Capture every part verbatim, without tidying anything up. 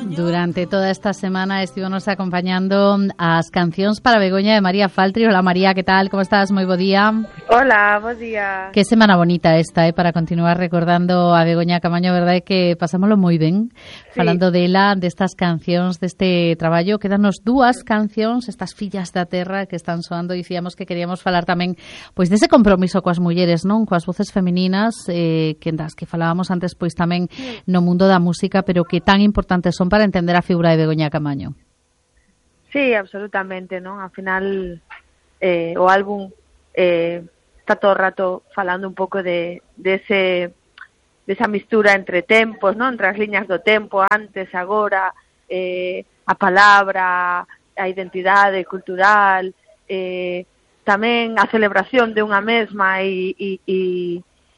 Durante toda esta semana estivemos acompañando as cancións para Begoña de María Faltri. Hola María, que tal? Como estás? Moi bo día. Hola, bo día. Que semana bonita esta, eh, para continuar recordando a Begoña Camaño, verdade que pasámoslo moi ben, sí. Falando dela, destas cancións, deste traballo. Quédanos dúas cancións, estas Fillas da Terra que están soando. Dicíamos que queríamos falar tamén pois dese compromiso coas mulleres, non? Coas voces femininas, eh, que das que falábamos antes pois tamén no mundo da música, pero que tan importantes son para entender a figura de Begoña Camaño. Sí, absolutamente, non? Ao final eh, o álbum eh, está todo o rato falando un pouco de, de ese de esa mistura entre tempos, non? Entre as liñas do tempo, antes, agora, eh, a palabra, a identidade cultural, eh, tamén a celebración de unha mesma e, e, e,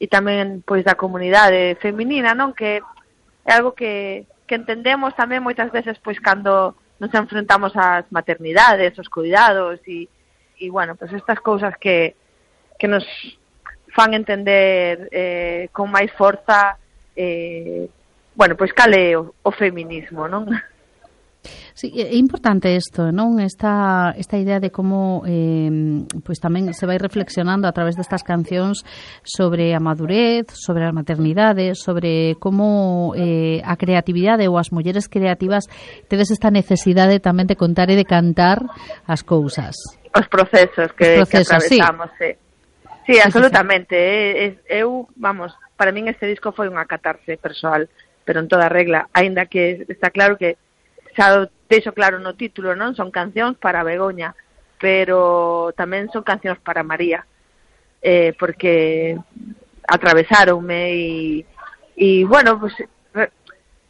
e tamén pois da comunidade feminina, non? Que é algo que que entendemos tamén moitas veces pois cando nos enfrentamos ás maternidades, aos cuidados e, e bueno, pois estas cousas que, que nos fan entender eh, con máis forza eh, bueno, pois cal é o, o feminismo, non? Sí, é importante isto, non? Esta, esta idea de como eh, pois tamén se vai reflexionando a través destas cancións sobre a madurez, sobre a maternidade, sobre como eh, a creatividade ou as mulleres creativas tedes esta necesidade tamén de contar e de cantar as cousas. Os procesos que, Os procesos, que atravesamos, sí. Sí, sí, absolutamente. Sí, sí. Eu, vamos, para min este disco foi unha catarse persoal, pero en toda regla, aínda que está claro que xa deixo claro no título, non? Son cancións para Begoña, pero tamén son cancións para María, eh, porque atravesáronme e, e bueno, pues,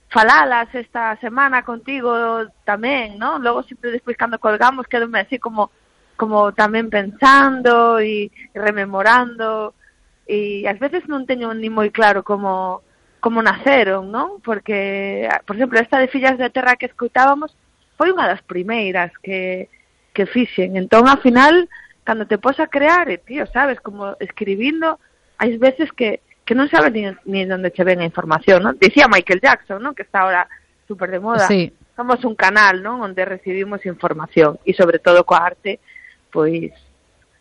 falalas esta semana contigo tamén, non? Logo sempre despois cando colgamos quedome así como como tamén pensando e rememorando e ás veces non teño ni moi claro como como naceron, non? Porque, por exemplo, esta de Fillas da Terra que escoitábamos foi unha das primeiras que, que fixen. Entón, ao final, cando te pos a crear, e, tío, sabes, como escribindo, hai veces que, que non sabes ni, ni onde che ven a información, non? Dicía Michael Jackson, non? Que está ahora super de moda. Sí. Somos un canal, non? Onde recibimos información e, sobre todo, coa arte, pois,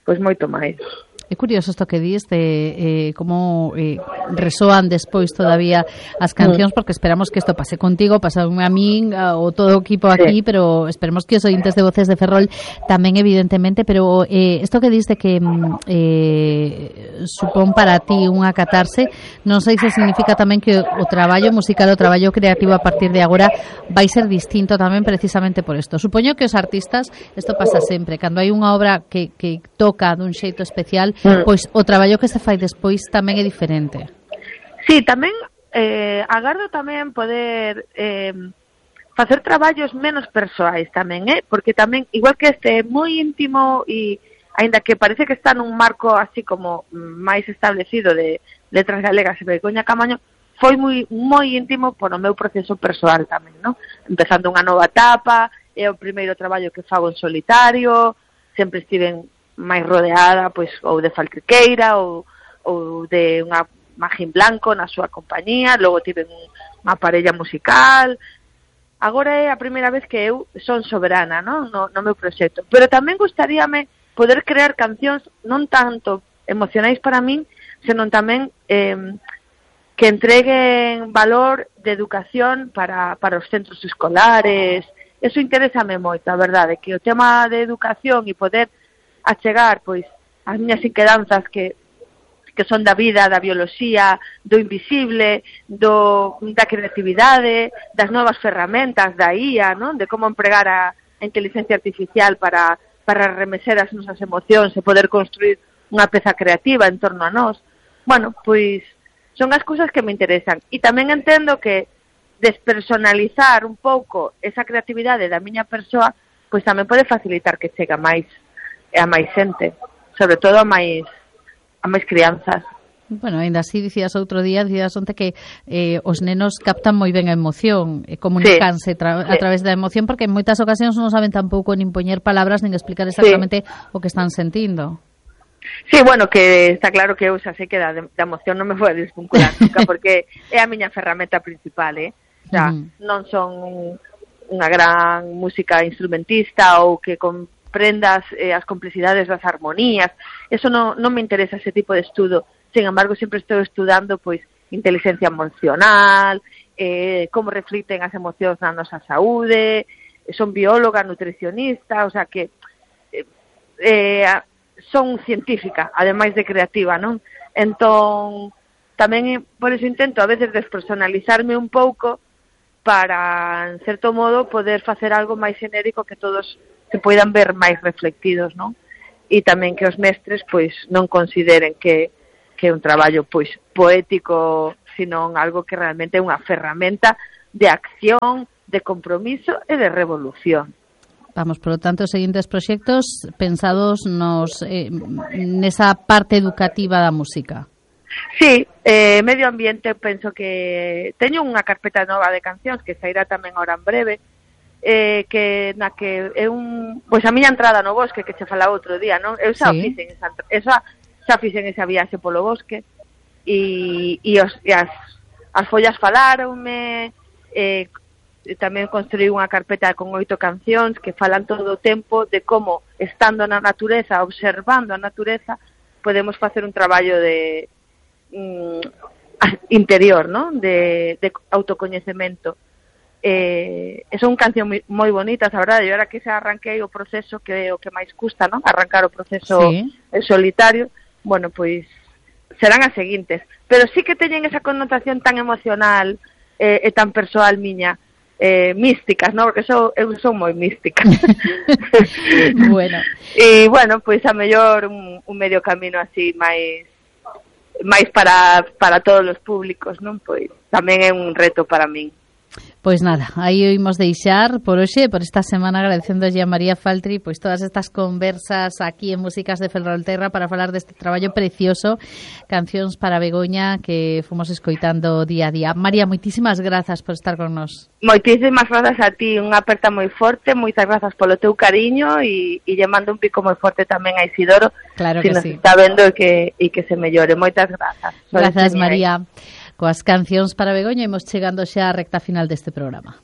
pois moito máis. É curioso isto que dis de eh, como eh, resoan despois todavía as cancións, porque esperamos que isto pase contigo, pasaume a min ou todo o equipo aquí, sí. Pero esperemos que os ointes de Voces de Ferrol tamén, evidentemente, pero eh, isto que dis de que eh, supón para ti unha catarse, non sei se significa tamén que o traballo musical, o traballo creativo a partir de agora vai ser distinto tamén precisamente por isto. Supoño que os artistas, isto pasa sempre, cando hai unha obra que, que toca dun xeito especial, pois o traballo que se fai despois tamén é diferente. Sí, tamén eh, agardo tamén poder eh, facer traballos menos persoais tamén, eh? Porque tamén, igual que este é moi íntimo e aínda que parece que está nun marco así como máis establecido de letras galegas e Begoña Camaño, foi moi moi íntimo por o meu proceso persoal tamén, non? Empezando unha nova etapa, é o primeiro traballo que fago en solitario, sempre estiven máis rodeada, pois, ou de Faltriqueira ou, ou de unha Magín Blanco na súa compañía, logo tive unha parella musical. Agora é a primeira vez que eu son soberana, non? No, no meu proxecto. Pero tamén gustaríame poder crear cancións non tanto emocionais para min, senón tamén eh, que entreguen valor de educación para, para os centros escolares. Eso interésame moito, a verdade, que o tema de educación e poder a chegar, pois, as miñas inquedanzas que, que son da vida, da bioloxía, do invisible, do, da creatividade, das novas ferramentas, da I A, non? De como empregar a, a inteligencia artificial para, para remecer as nosas emocións e poder construir unha peza creativa en torno a nós. Bueno, pois, son as cousas que me interesan. E tamén entendo que despersonalizar un pouco esa creatividade da miña persoa, pois tamén pode facilitar que chega máis a máis xente, sobre todo a máis a máis crianzas. Bueno, ainda así dicías outro día, dicías onte que eh, os nenos captan moi ben a emoción e comunicanse sí, tra- a sí. través da emoción, porque en moitas ocasións non saben tampouco nin poñer palabras nin explicar exactamente sí. o que están sentindo. Sí, bueno, que está claro que eu xa sei que da, da emoción non me vou a desvincular nunca, porque é a miña ferramenta principal, eh? O sea, uh-huh. non son unha gran música instrumentista ou que comprendas eh, as complexidades das armonías. Eso non, non me interesa ese tipo de estudo. Sin embargo, sempre estou estudando pois inteligencia emocional, eh, como reflicten as emocións na nosa saúde, son bióloga, nutricionista, o sea que eh, eh, son científica, ademais de creativa, non? Entón, tamén por eso intento a veces despersonalizarme un pouco para, en certo modo, poder facer algo máis xenérico que todos se poidan ver máis reflectidos, non? E tamén que os mestres, pois, non consideren que, que é un traballo, pois, poético, sino algo que realmente é unha ferramenta de acción, de compromiso e de revolución. Vamos, por lo tanto, os seguintes proxectos pensados nos eh, nesa parte educativa da música. Sí, eh, medio ambiente, penso que teño unha carpeta nova de cancións que sairá tamén ahora en breve, eh, que na que é un, pois a miña entrada no bosque que che falaba outro día, non? Eu xa sí. fixen esa, esa xa fixen esa viaxe polo bosque e, e, os, e as, as follas falaronme, eh, tamén construí unha carpeta con oito cancións que falan todo o tempo de como, estando na natureza, observando a natureza, podemos facer un traballo de interior, ¿no? De, de autocoñecemento. Eh, son cancións moi bonitas, a verdade, e ahora que se arranquei o proceso que é o que máis custa, ¿no? Arrancar o proceso sí. solitario, bueno, pois serán as seguintes, pero sí que teñen esa connotación tan emocional eh, e tan persoal miña, eh, místicas, ¿no? Porque so, eu son moi mística. Bueno. E, bueno, pois a mellor un, un medio camino así máis máis para, para todos os públicos, non? Pois tamén é un reto para min. Pois nada, aí o imos deixar por hoxe, por esta semana, agradecéndolle a María Faltri pois todas estas conversas aquí en Músicas de Ferrolterra para falar deste traballo precioso, Cancións para Begoña, que fomos escoitando día a día. María, moitísimas grazas por estar con nós. Moitísimas grazas a ti, unha aperta moi forte, moitas grazas polo teu cariño e, e lle mando un pico moi forte tamén a Isidoro, claro que que nos sí. está vendo e que, e que se mellore. Moitas grazas. Grazas, María. Coas Cancións para Begoña imos chegando xa á recta final deste programa.